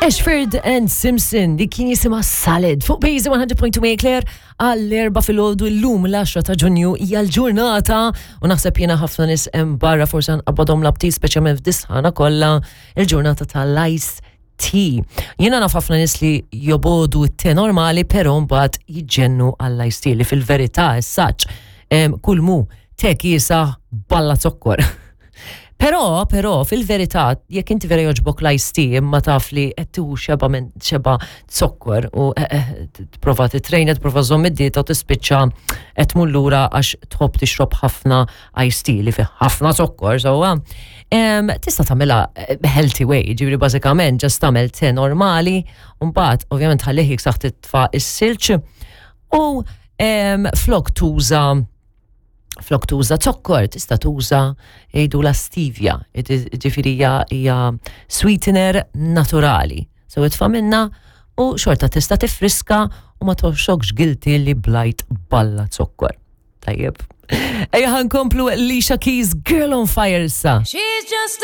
Ashford and Simpson li kien jisimha Salad fuq Bejzi 100.2 Claire għall-erba filgħodu llum l-10 ta' Ġunju hija l-ġurnata u naħseb jiena ħafna nies hemm barra forsi nqabbadhom l-aptit speċjalment f'disħana kollha il-ġurnata tal-ice tea. Jiena naf ħafna nies li jobodu t-te normali però mbagħad jiġġennu għall-ice tea li fil-verità s-saċ kull mu te kiesa balla zokkor. Però, però, fil-verità, jekk inti vera joġbok l-iced tea imma taf li qed tieħu xeba minn xeba zokkor u eh, eh, tipprova titrejna, tipprova żomm id-dieta u tispiċċa qed tmur lura għax tħobb tixrob ħafna iced tea li fih ħafna zokkor, sewwa. Tista' tagħmilha eh, healthy way, ġifieri bażikament ġast tagħmel te normali, u mbagħad ovvjament ħallih jiksaħ titfa' is-silġ u flok tuża flok tuża zokkor, tista' tuża jgħidu la stevia, ġifieri hija sweetener naturali. So itfa' minna u xorta tista' tifriska u ma toħxokx guilty li blajt balla zokkor. Tajjeb. Ejja ħankomplu Alicia Keys Girl on Fire issa. She's just